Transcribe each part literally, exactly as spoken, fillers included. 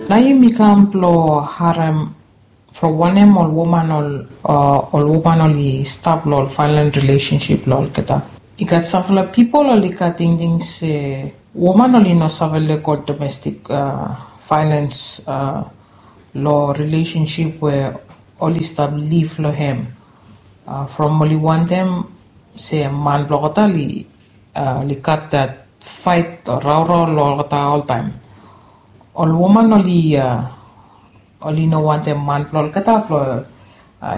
Nao yumi kam blong harem from wanem ol woman ol ol woman oli stap long ol violent relationship long olgeta. I gat sampela pipol oli gat tingting se woman oli no save lego domestik violens long relationship we oli stap liv long hem. From oli wantem se man blong olgeta oli gat dat fait o raorao long olgeta oltaem. Ol woman oli oli no wantem man blong olgeta blong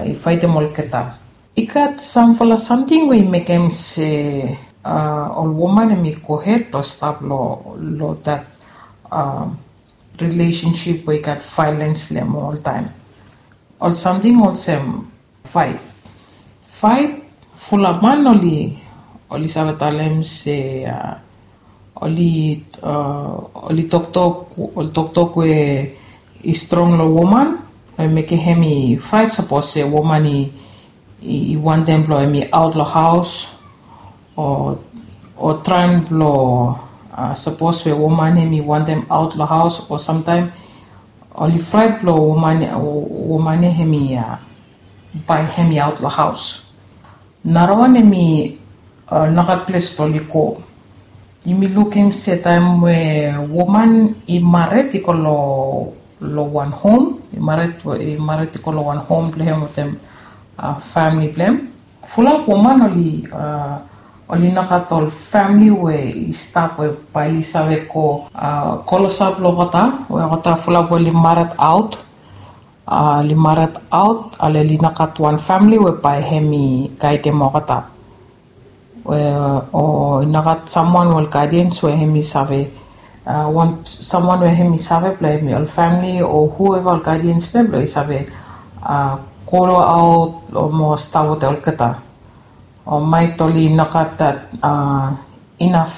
i faetem olgeta. I gat sampela samting we i mekem se ol woman em i gohed long stap long dat relationship we i gat violens long em oltaem. Ol samting olsem fait. Fait, fulap man oli oli save talem se oli oli toktok oli toktok we i strong long woman, we mekem hem i fait sapos se woman i i wantem blong hem i aot long haos, o o traem blong sapos we woman hem i wantem aot long haos o samtaem oli fraet blong woman woman hem i bae hem i aot long haos. Narawan hem i nogat ples blong oli go. Yumi lukim se taem we woman i mared i go long long wan hom, i mared i go long wan hom blong hem wetem famili blong hem. Fulap woman oli oli nogat ol famili we i stap we bae oli save go klosap long olgeta we olgeta fulap we oli mared aot. Oli mared aot ale oli nogat wan famili we bae hem i gaedem olgeta. O i nogat samwan we ol gaedians we hem i save wan samwan we hem i save blong hem i ol famili o hueva ol gaedians blong hem blong i save go aot o mo stap wetem olgeta. O maet oli nogat dat inaf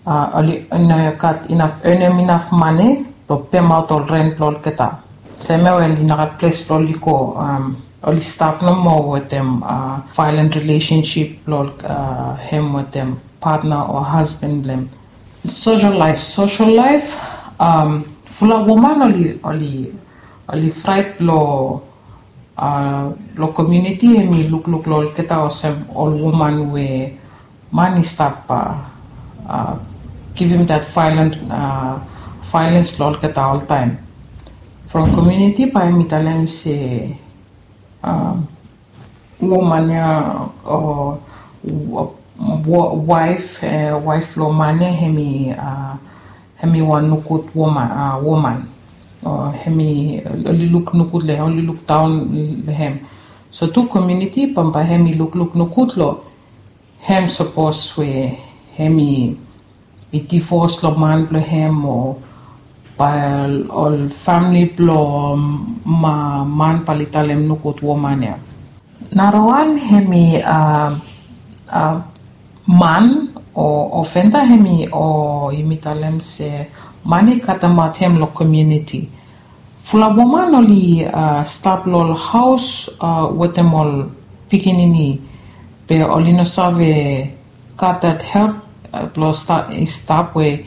oli no gat inaf enem inaf mane blong pemaot ol ren blong olgeta. Semia we oli nogat ples blong oli go oli stap nomo wetem violent relationship blong hem wetem patna o hasban blong hem. Sosel laef sosel laef fulap woman oli oli oli fraet long long komuniti hem i lukluk long olgeta olsem ol woman we man i stap givim dat violent violens long olgeta oltaem. From komuniti bae hem i talem se woman ya o waef waef blong man ya hem i hem i wan nogud woman woman o hem i oli luk nogud long hem oli luk daon long hem. So tu komuniti bambae hem i lukluk nogud long hem sapos we hem i i divos long man blong hem o bae ol famili blong man bae oli talem nogud woman ya. Narawan hem i man o ofenda hem i o yumi talem se man i katemaot hem long komuniti. Fulap woman oli stap long ol haos wetem ol pikinini be oli no save gat dat help blong i stap we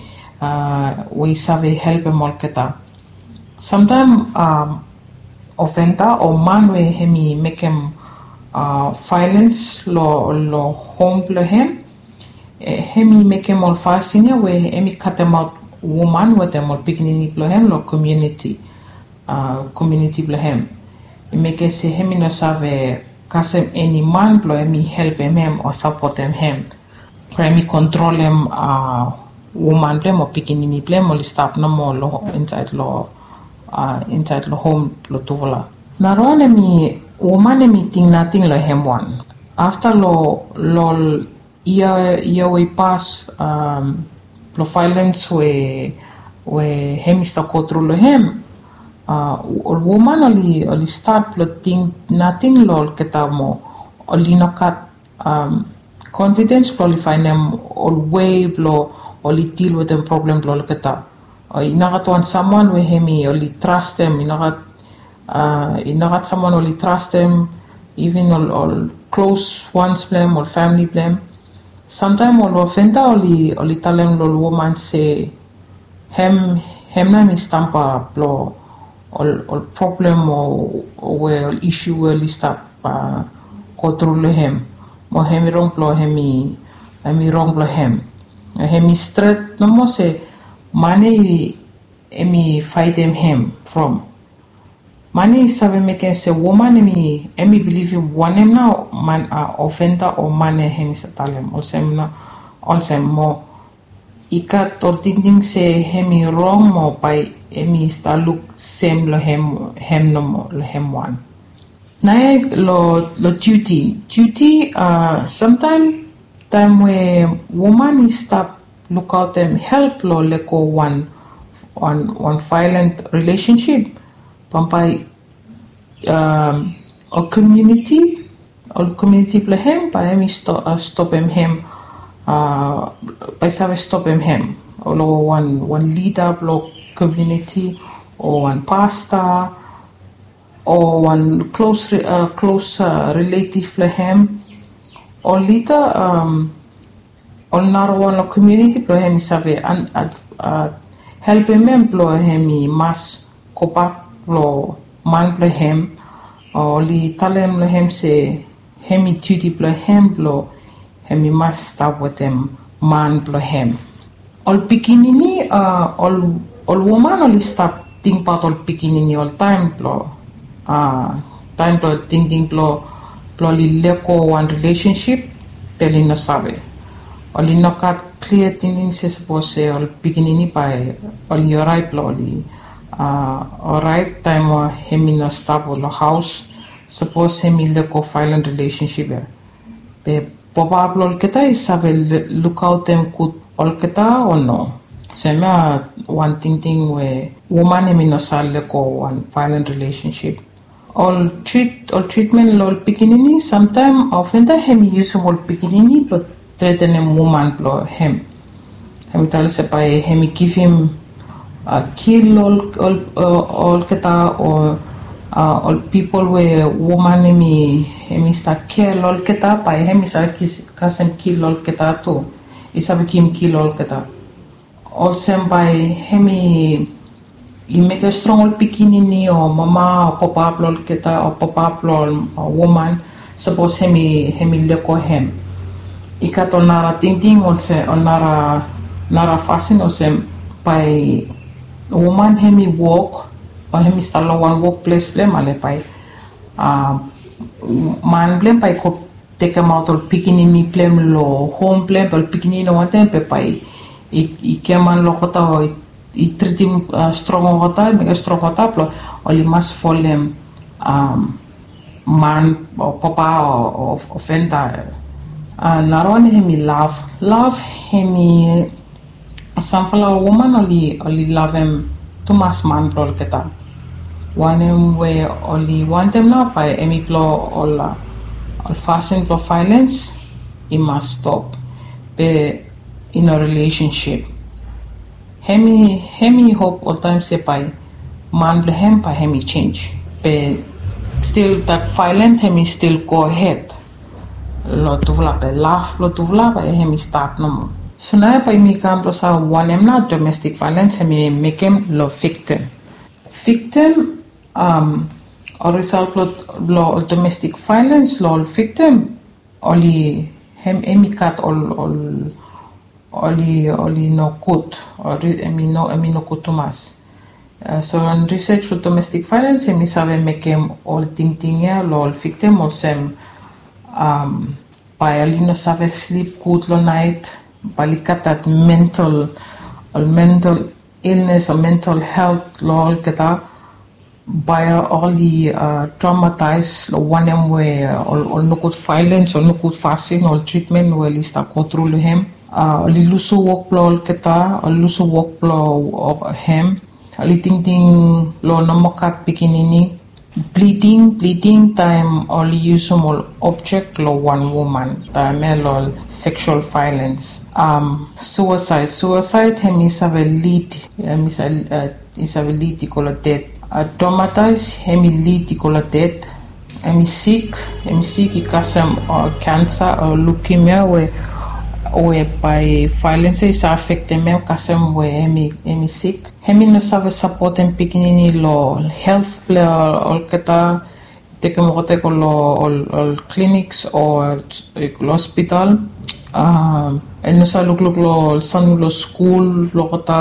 we i save helpem olgeta. Samtaem ofenda o man we hem i mekem violens long hom blong hem hem i mekem ol fasin ya we hem i katemaot woman wetem ol pikinini blong hem long komuniti komuniti blong hem. I mekem se hem i no save kasem eni man blong hem i helpem hem o sapotem hem. Bai hem i kontrolem woman blong hem o pikinini blong hem oli stap nomo long insaed long insaed long hom blong tufala. Narawan hem i woman hem i ting nating long hem wan. Afta long long ol yia yia we i pas blong vaelens we we hem i stap gotru long hem. Ol woman oli oli stat blong ting nating long olgeta moa. Oli no gat konfidens blong oli faenem ol wei blong oli dil wetem problem blong olgeta. I no gat wan samwan we hem i oli trastem i no gat i no gat samwan oli trastem. Iven ol ol klos wans blong hem ol famili blong hem. Samtaem ol ofenda oli oli talem long ol woman se hem Hem nao hem i stamba blong ol problem o we ol isu we oli stap go tru long hem, mo hem i rong blong hem i hem i rong blong hem. Hem i stret nomo se man ya hem i faetem hem from man ya i save mekem se woman hem i bilivim wanem nao man ofenda o man ya hem i save talem olsem nao olsem mo i gat ol tingting se hem i rong mo bae hem i stap luk sem long hem nomo long hem wan. Naoia long diuti, diuti samtaem taem we woman i stap lukaotem help long lego wan wan vaelan rilesensip bambae ol komiuniti ol komiuniti blong hem bae hem i stopem hem bae i save stopem hem long wan lida blong komiuniti o wan pasta o wan klos klos riletiv blong hem o lida ol narawan long komiuniti blong hem i save helpem hem blong hem i mas gobak long man blong hem o oli talem long hem se hem i diuti blong hem blong hem i mas stap wetem man blong hem. Ol pikinini ol woman oli stap tingbaot ol pikinini oltaem blong taem blong tingting blong blong oli lego wan rilesensip be oli no save oli no gat klia tingting se sapos se ol pikinini bae oli oraet blong oli oraet taem we hem i no stap long haos sapos hem i lego vaelan rilesensip ya be papa blong olgeta i save lukaotem gud olgeta o no? Olsem ya wan tingting we woman hem i no save lego wan vaelan rilesensip. Ol tritmen long ol pikinini samtaem ofenda hem i yusum ol pikinini blong tretenem woman blong hem hem i talem se bae hem i givim kil olgeta o ol pipol we woman hem i stap kea long olgeta bae hem i save kasem kil olgeta tu i save givim kil olgeta olsem bae hem i mekem strong ol pikinini o mama o papa blong olgeta o papa blong ol woman sapos hem i lego hem. I gat ol nara tingting olsem ol nara fasin olsem bae woman hem i wok o hem i stap long wan wokples blong hem ale bae man blong hem bae i go tekemaot ol pikinini blong hem long hom blong hem be ol pikinini no wantem be bae i giaman long olgeta o i tritim strong olgeta i mekem strong olgeta blong oli mas folem man o papa o ofenda. Narawan hem i lav lav hem i samfala woman oli lavem tumas man blong olgeta wanem we oli wantem nao bae hem i blong ol fasin blong vaelens i mas stop be i no rilesensip. Hem i hem i hop oltaem se bae man blong hem bae hem i jenj be stil dat vaelan hem i stil gohed long tufala be laf long tufala bae hem i stat nomo. So naoia bae yumi kam blong save wanem nao domestik vaelens hem i mekem long viktim. Viktim ol risal blong ol domestik vaelens long ol viktim oli hem hem i gat ol ol oli oli nogud. Hem i nogud tumas. So long risej blong domestik vaelens hem i save mekem ol tingting ya long ol viktim olsem bae oli no save slip gud long naet bae oli gat dat mental ol mental ilnes o mental helt long olgeta bae oli dramataes long wanem we ol nogud vaelens ol nogud fasin ol tritmen we oli stap gotru long hem. Oli lusim wok blong olgeta oli lusim wok blong hem. Oli tingting long nomo gat pikinini bliding bliding taem oli yusim ol objek long wan woman taem ya long ol seksual vaelens. Suesaed suesaed hem i save lid hem i save lid i go long ded. Dramataes hem i lid i go long ded. Hem i sik hem i sik i kasem kensa o lukimia we we bae vaelens ya i save afektem hem kasem we hem i sik. Hem i no save sapotem pikinini lo helt blong olgeta, tekem olgeta i go lo ol, ol clinics o lo hospital. Um, i no save lukluk lo ol samting lo skul blo olgeta,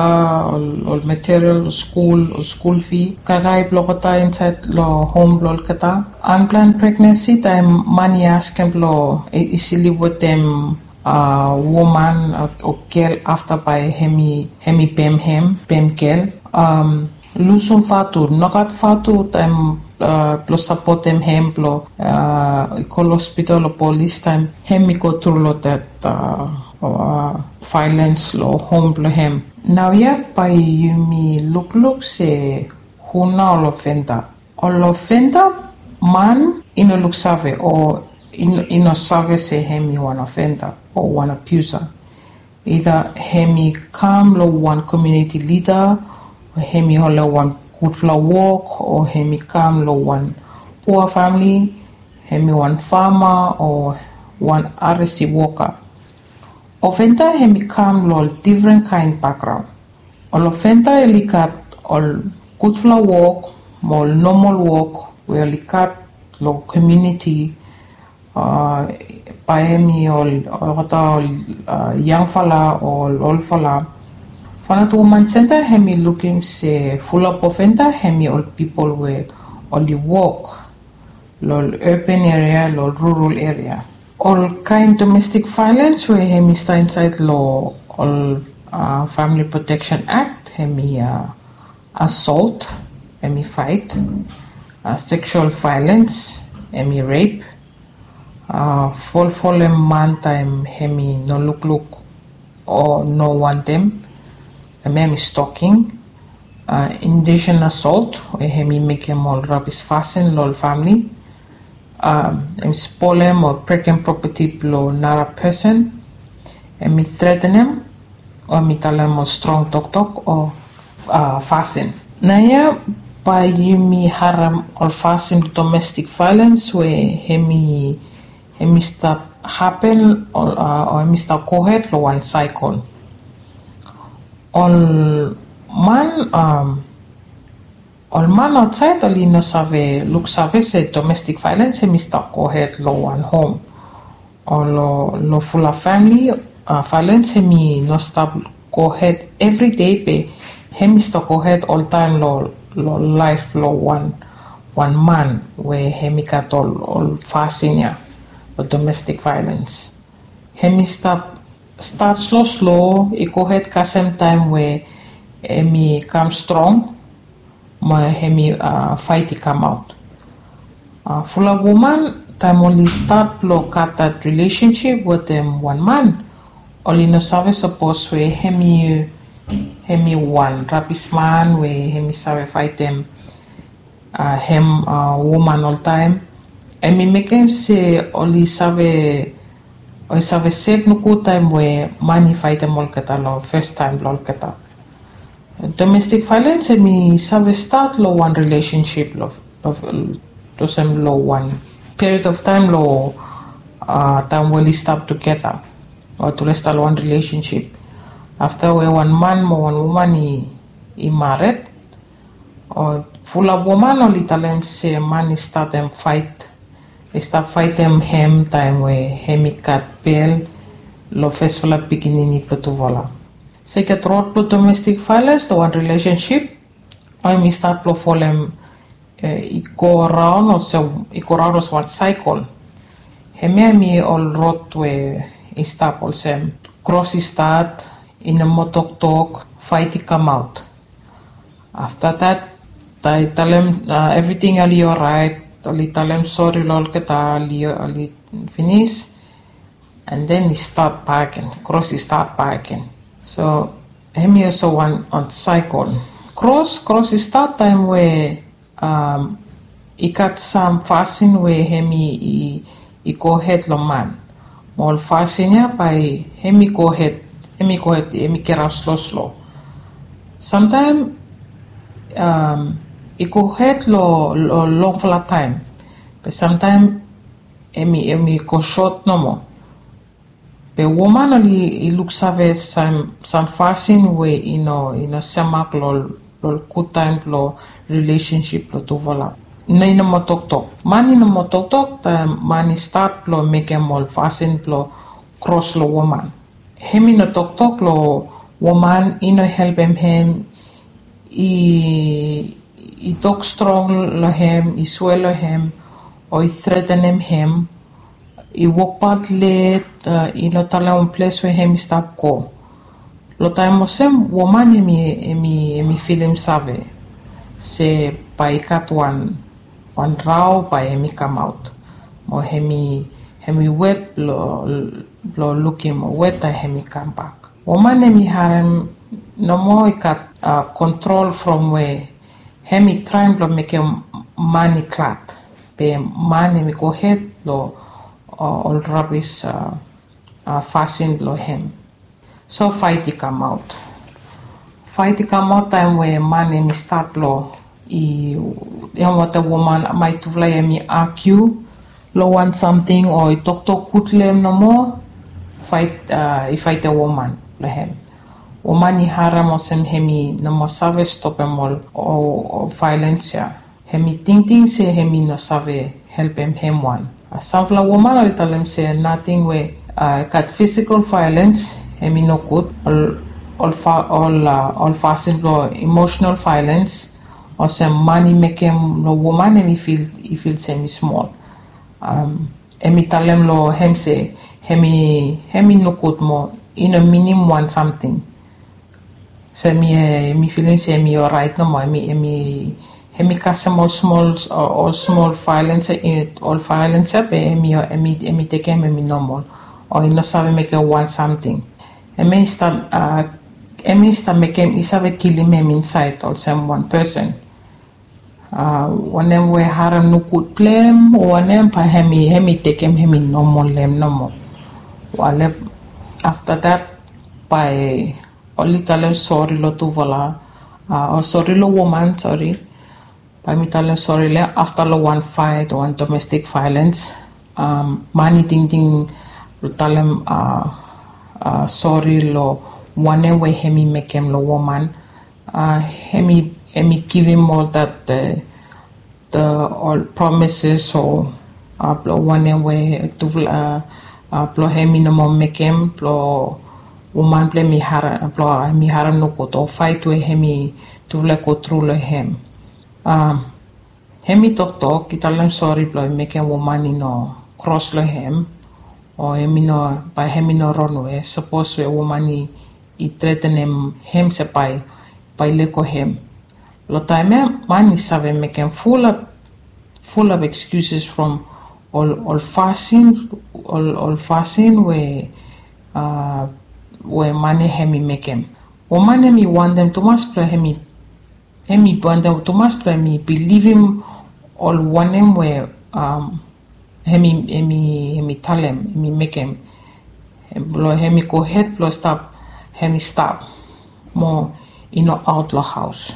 ol, ol material lo skul, ol skul fee, kaikai blo olgeta insaed lo hom blo olgeta. Unplanned pregnancy, taem man i askem blo i, i slip wetem uh, woman o, o gel afta bae hem i, hem i pem hem, pem gel. Um, lusum vatu, nogat vatu taem uh, blo sapotem hem blo uh, i go lo hospital o polis taem hem i go tru lo dat uh, uh, violence lo hom blo hem. Naoia bae yumi lukluk se hu nao ol ofenda. Ol ofenda, man i no luksave o i no, i no save se hem i wan ofenda o wan abuser. Either hem i kam lo wan community leader, o hem i holem wan gudfala wok, o hem i kam lo wan pua famili, hem i wan fama o wan R S C woka. Ofenda hem i kam lo ol difren kaen bakgraon. Ol ofenda oli gat ol gudfala wok mo ol nomol wok we oli gat lo komuniti, uh, bae hem i ol, olgeta ol uh, yangfala o ol olfala. From dat woman senta hem i lukim se fulap ofenda hem i ol pipol we oli wok lo ol urban area, lo ol rural area. Ol kaen domestic violence we hem i stap insaed lo ol uh, Family Protection Act, hem i uh, assault, hem i faet, uh, sexual violence, hem i rape, uh, folfolem man taem hem i no lukluk o no wantem, hem i stalking, uh, indecent assault, we hem i mekem ol rabis fasin lo ol famili, um, hem i spolem o brekem properti blo nara pesen, hem i threatenem, o hem i talem ol strong toktok o uh, fasin. Naoia bae yumi harem ol fasin domestic violence we hem i, hem i stap hapen o, uh, o hem i stap gohed lo wan cycle. Ol man, um, ol man aotsaed oli no save luksave se domestic violence hem i stap gohed lo wan hom o lo, lo fulap famili, uh, violence hem i no stap gohed evri dei be hem i stap gohed oltaem lo, lo laef lo wan, wan man we hem i gat ol, ol fasin ia lo domestic violence. Hem i stap stat sloslo, i gohed kasem taem we hem i kam strong mo hem i uh, faet i kamaot. Uh, fulap woman taem oli stat blo gat dat relationship wetem wan man, oli no save sapos we hem i, hem i wan rabis man we hem i save faetem uh, hem uh, woman oltaem. Hem i mekem se oli save, oli save sef nogud taem we man i faetem olgeta lo fes taem blo olgeta. Domestic violence hem i save stat lo wan relationship lo, lo, olsem lo wan period of time lo uh, taem we oli stap tugeta o tule stap lo wan relationship. Afta we wan man mo wan woman i, i mared, o fulap woman oli talem se man i statem faet, i stap faetem hem taem we hem i gat bel lo fesfala pikinini blo tufala. Se i gat rod blo domestic violence lo wan relationship, o hem i stat blo folem, uh, i go raon olsem, i go raon olsem wan cycle. Hemia hem i ol rod we i stap olsem kros i stat, i no moa toktok, faet i kamaot. Afta dat, taem i talem uh, evriting oli oraet, oli talem sori lo olgeta, oli, oli finis, and then i stat bak agen, kros i stat bak agen. So hem i olsem wan, wan cycle. Kros, kros i stat taem we um, i gat sam fasin we hem i, i, i gohed lo man. Mo ol fasin ia bae hem i gohed, hem i gohed, hem i geraot sloslo. Samtaem um, i gohed lo, lo longfala taem. Be samtaem hem i, hem i go sot nomo. Be woman oli i luksave sam fasin we i no i no semak long ol gud taem blong rilesensip blong tufala. I no i no moa toktok. Man i no moa toktok taem man i stat blong mekem ol fasin blong kros long woman. Hem i no toktok long woman i no helpem hem. I i tok strong long hem, i swea long hem, o i tretenem hem, i wokbaot let, i no talem wan ples we hem i stap go. Long taem olsem woman hem i hem i hem i filim save se bae i gat wan wan rao bae hem i kamaot, mo hem i hem i wet blong lukim weta hem i kambak. Woman hem i harem nomo i gat kontrol from we hem i traem blong mekem man i glad, be man hem i gohed long ol rabis fasin blong hem. So faet i kamaot. Faet i kamaot taem we man hem i stat blong i hem wetem woman, mae tufala hem i agiu long wan samting o i toktok gud long hem nomo. Faet i faetem woman blong hem. Woman i harem olsem hem i no moa save stopem ol vaelens ya. Hem i tingting se hem i no save helpem hem wan. Samfala woman oli talem se nating we i gat fisikal vaelens hem i nogud. Ol fasin blong emosenal vaelens olsem man i mekem long woman hem i fil i fil se hem i smol. Hem i talem long hem se hem i hem i nogud mo i no minim wan samting. So hem i hem i filim se hem i oraet nomo, hem i hem i hem i kasem ol smol ol smol vaelens ya, ol vaelens ya be hem i hem i hem i tekem hem i nomol, o i no save mekem wan samting. Hem i stap hem i stap mekem i save kilim hem insaed olsem wan pesen. Wanem we harem nogud blong hem o wanem, bae hem i hem i tekem hem i nomol long hem nomo. Wale afta dat bae oli talem sori long tufala, o sori long woman, sori. Bae mi talem sori long hem afta long wan faet o wan domestik vaelens. Man i tingting blong talem sori long wanem we hem i mekem long woman. Hem i hem i givim ol dat ol promises o blong wanem we tufala blong hem i no moa mekem blong woman blong hem i harem blong hem i harem nogud o faet we hem i tufala i go tru long hem. Hem i toktok i talem sori blong i mekem woman i no kros long hem o hem i no bae hem i no ronwe sapos we woman i i tretenem hem se bae bae i lego hem. Long taem ya man i save mekem fulap fulap ekskuses from ol ol fasin ol ol fasin we a we man ya hem i mekem. Woman hem i wantem tumas blong hem i hem i wantem tumas blong hem i bilivim ol wanem we a hem i hem i hem i talem hem i mekem blong hem i gohed blong stap hem i stap mo i no aot long haos.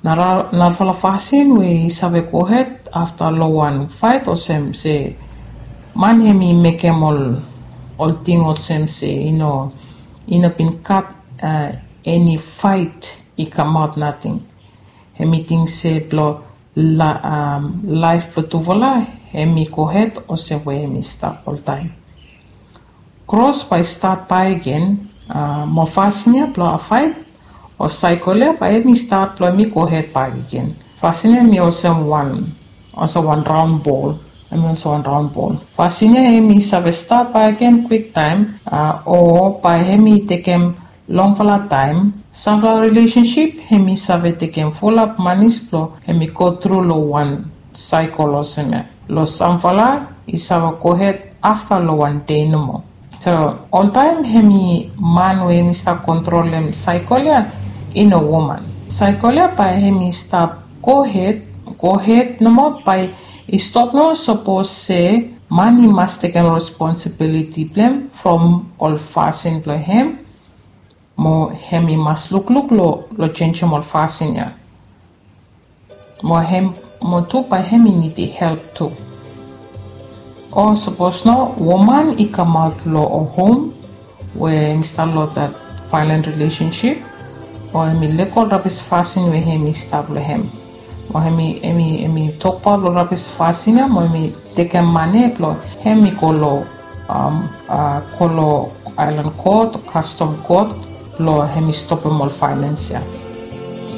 Narafala fasin we i save gohed afta long wan faet olsem se man hem i mekem ol ol ting olsem se i no i no bin gat eni faet i kamaot nating. Hem i ting se blong laef blong tufala hem i gohed olsem we hem i stap oltaem. Kros bae i stat bakegen mo fasin ya blong faet o saekol ya bae hem i stat blong hem i gohed bakegen. Fasin ya hem i olsem wan olsem wan raon bol. Hem i olsem wan raon bol. Fasin ya hem i save stat bakegen kwiktaem o bae hem i tekem longfala taem. Samfala rilesensip hem i save tekem fulap manis blong hem i gotru long wan saekol olsem ya. Long samfala i save gohed afta long wan dei nomo. So oltaem hem i man we hem i stap kontrolem saekol ya i no woman. Saekol ya bae hem i stap gohed gohed nomo bae i stop nomo sapos se man i mas tekem responsibiliti blong hem from ol fasin blong hem. Mo hem i mas lukluk long long jenisim ol fasin ya. Mo hem mo tu bae hem i nidim help tu. O sapos no woman i kamaot long ol hom we hem i stap long dat violent relationship, o hem i lego ol rabis fasin we hem i stap long hem, o hem i hem i hem i tokbaot long rabis fasin ya, mo hem i tekem mane blong hem i go long um, uh, go long island court, custom court, blong hem i stopem ol violence ya.